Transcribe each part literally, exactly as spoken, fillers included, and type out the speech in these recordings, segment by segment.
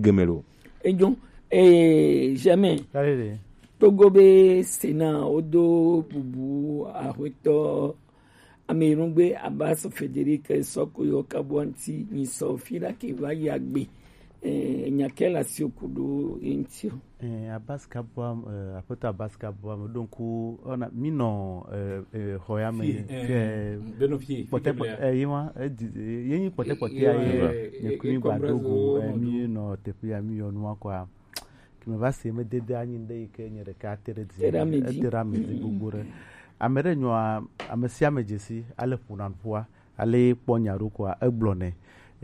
Gɛmɛ lo. Ejo, eh, jamais. Allez, allez. Togo be Sénat wodo bubu ahuetɔ Amerungbe Abbas Frederic Sɔkoyo Kabuanti ni sɔ fi la ke va ya gbe. Eh, nya ke la si oku do enti o. Eh, Abbas Kabua, eh, aƒetɔ Abbas Kabua, me ɖo ŋku, ona, mi nɔ, eh, eh, xɔ ya me, Fie, eh, fie, beno fie, kpɔtɛ fie kpɔtɛ, eh, ye ma, eh, di, eh, ye nyi kpɔtɛ kpɔtɛ eh, ya ye, eh, ne eh, kumi eh, gba do go, eh, eh, mi nɔ teƒe ya, mi yɔ nua kɔa. Ke me va se me dede anyi ɖe yi ke nye ɖeka te ɖe dzi. Te ɖe ame dzi. Ete ɖe ame dzi gbogbo ɖe. Ame ɖe nyɔa, ame sia ame dzesi, ale ƒona ƒua, ale kpɔ nya ɖo kɔa, egblɔ nɛ.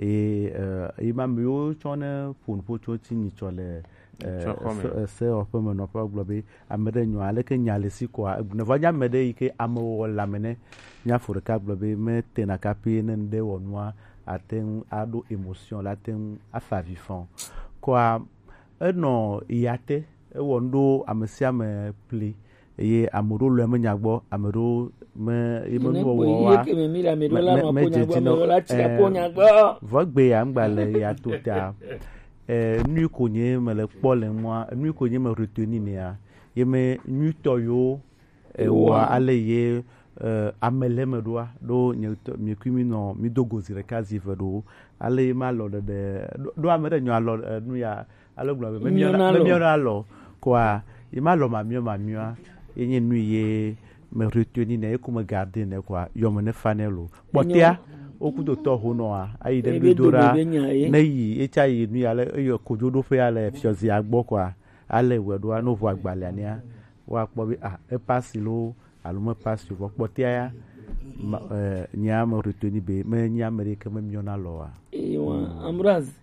Eye, eh, yi ma me yiwo tsɔ ne ƒo nuƒo tso ti nyitsɔ le, eh, Tsɔ xɔ me. Se-, eh, sewɔƒe me nɔƒe gblɔ be, ame ɖe nyɔa, aleke nya le si kɔa, egblɔ nɛ. Vɔ nye ame ɖe yi ke ame wɔ le ame ne, nya fo ɖeka gblɔ be, metena kapi ne ŋɖe wɔ nua, ate ŋu aɖo émotion, la ate ŋu afa avi fɔ. Kɔa, enɔ ya te, ewɔ nu ɖo ame sia ame pli, eye ame ɖewo lɔe menya gbɔ, ame ɖewo me, ye me nu wɔwɔ wa, me, me, medze dzi na wo, eh, vɔ gbe ya ŋgba le ya to ta. Eh, nu yi ko nye me le kpɔ le mɔa, nu yi ko nye me retenir nɛa, ye me nyuitɔ yo, eh, wa ale ye, eh, ame le me ɖoa, ɖo nye ŋutɔ, mi kui mi nɔ, mi do go zi ɖeka zi eve ɖo, ale ye ma lɔ ɖeɖe, ɖo, ɖo ame ɖe nyɔ alɔ, eh, nu ya, ale gblɔ be, me miɔ na, me miɔ na alɔ, kɔa, ye ma lɔ ma miɔ ma miɔa, ye nye nu ye me retenir nɛ, ye ko me garder nɛ kɔa, yɔ me ne fa nɛ lo. Kpɔtɛa, wo kudo tɔ ho nɔa, ayi ɖe gbedo ɖa, ne yi, ye tsa yi nu ya le, eyɔ kodzo ɖo ƒe ya le fiɔzi agbɔ kɔa, ale wɛ ɖoa, no vo agbalea nɛa, woakpɔ be, ah, epasi lo, alo mepasi o. Vɔ kpɔtɛa ya, ma, eh, nye ame retenir be, me nye ame ɖeke me miɔ na lɔ wa. Ewa, Ambroise.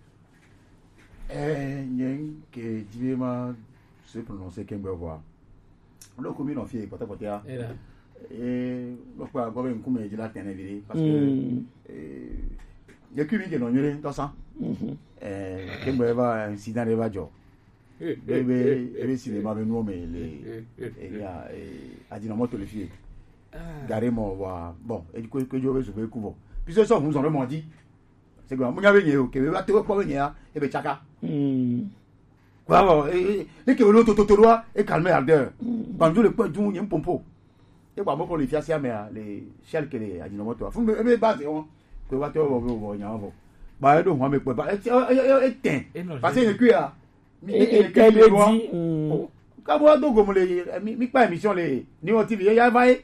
Eh, nye ke dzi be ma se prononcer ke gbe vɔa. Lo ko mi nɔ fie kpɔtɛ kpɔtɛa. Era. Eh, lo kpa gbɔ be ŋkume dzi la tɛnɛ viɖe, parce que, mm, eh, ye kui mi ke nɔ nyuie ŋutɔ sa. Mhm. Eh, ke gbe va incident ɖe va dzɔ. Ebe, ebe cinéma be nuwo me le, eh, ya, eh, adinɔmɔ to le fie. Ah. Gare mɔ wa, bon, e ko, ko jo be su be ku vɔ. Puisque sɔ hun zɔn ɖe mɔ dzi. C'est que, munya be nye o, ke be va to kpɔ be nye ya, ebe tsaka. Hmm. Kwa vɔ, e, e, ne ke lo to, to, to, loa, e calme ardeur. Hmm. Banjo le kpɔ dun, nye mpompo. E gba mɔ ko le fiasia mea, le shell ke le adinɔmɔ to. Fun be, ebe base on, ke va to vɔ, vɔ, vɔ, nya vɔ. Ba, e ɖo hɔn me kpɔ, ba, e, e, e, e, e tɛ. Parce que ne kui ya, mi, e, mi, e, ke le di, mm. Ka bo do gomo le, mi, mi kpa émission le, ni o T V, ya va ye.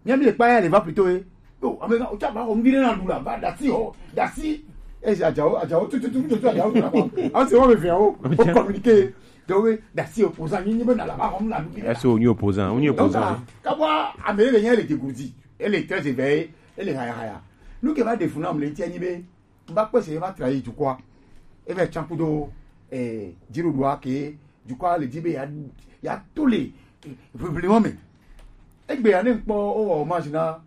Mi, mi le kpa ya le va plutôt ye. Oh, ame ka, o tsa ba, o mi le na du la, ba, dasi, o, dasi. E, ajawo, ajawo, tu, tu, tu, tu, tu, ajawo, tu, la, ba. Ah, c'est, on me vient, o, o communiquer. Donc, oui, dasi, opposant, ni, ni, ben, na la, ba, on la, est-ce que on est opposant? On est opposant. Donc, ka bo, ame le, le, le, dégourdi. Elle est très éveillée, elle est haya, haya. Nous, qui va défendre, on le tient, ni, be, Mba kpɔe se eva trahi dukɔa. Eva tsan kudo, eh, dziɖuɖua ke dukɔa le dzi be ya, ya to le, eh, ʋiʋli mɔ me. Egbe ya ne ŋkpɔ wowɔ hommage na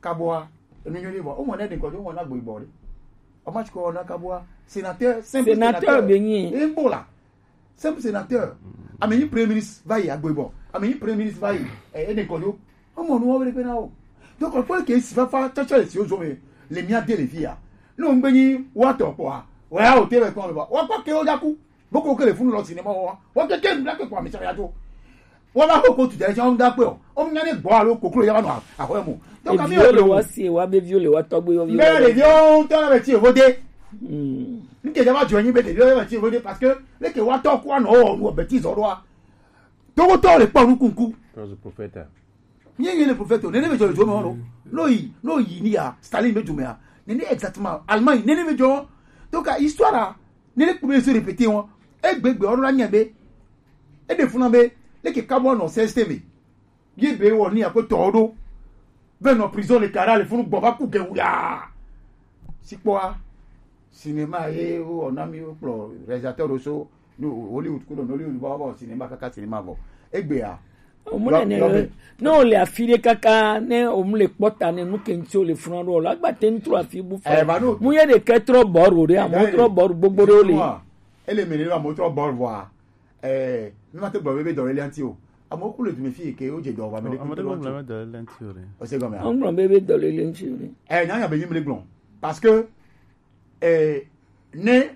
Kaboa, enu nyɔ ɖe vɔ. Womɔ ne ɖe ŋkɔ, womɔ na Gboibɔ ɖe. Hommage ko na Kaboa, sénateur, simple sénateur. Sénateur be nyi. Embo la. Simple sénateur. Ame yi premier ministre va yi Agboibɔ. Ame yi premier ministre va yi, eh, Ene Kojo. Ɔmɔ nu wɔwɔ ɖe na o. Donc, ɔkpɔ ke si fafa tsɔtsɔ le si wo zo me le mia de le fi ya. Ne wo ŋgbe nyi wa tɔ kpɔa, wa ya o te le kpɔ le ba. Wa kpɔ ke wo ja ku. Boko ke le funu lɔ cinéma wa. Wa ke ke nu la ke kpɔ ame tsa ya to. Wa ba ko ko tu de tsa wo da pe o. O nya ne gbɔ alo koklo ya ba no a, a ko mo. Donc, ami o le wa si wa be vieux le wa tɔgbe yo vieux. Be le yo to na be ti o de. Hmm. Nke jama jo nyi be ɖeviwo yɔ ti vode parce que leke wa tɔ kua nɔ wɔ nu bêtise ɖoa. Togotɔ le kpɔ nu kunku. Parce que prophète. Nye nye le prophète o, nene be jɔ le jɔ me wɔn. No yi, no yi ni ya, Stalin be jɔ me ya. Nene exactement, Allemagne, nene be jɔ. Donc, histoire la, nene kpɔ be se répéter wɔn. Egbegbe wɔn la nye be. E de funa be, leke kabo nɔ C S T V. Ye be wɔ ni akpetɔwo ɖo. Ve nɔ prison le kara le funu gbɔ va ku ge wuya. Sikpɔa, cinéma ye wo wɔ na mi wo kplɔ réalisateur ɖo so, ni Hollywood kudo Nollywood va wɔ cinéma kaka cinéma vɔ. Egbea. Omu le ne, ne o le afi ɖe kaka, ne omu le kpɔta ne nu ke ŋuti o le funa ɖo, la gba te ŋtrɔ afi bu fa. Eh, ba no. Mu ye ɖe ke trɔ bɔru ɖe, amu trɔ bɔru gbogbo ɖe o le. Ele me ne ba mo trɔ bɔru vɔa. Eh, mi ma te gblɔ be, be dɔléle ŋuti o. Amewo ku le dume fi ke wo dze dɔ wa me. Ame ɖe gblɔ be dɔléle ŋuti o ɖe. O se gɔme a? Wogblɔ be, be dɔléle ŋuti o ɖe. Eh, nya nya be nyi mle gblɔ. Parce que, eh, ne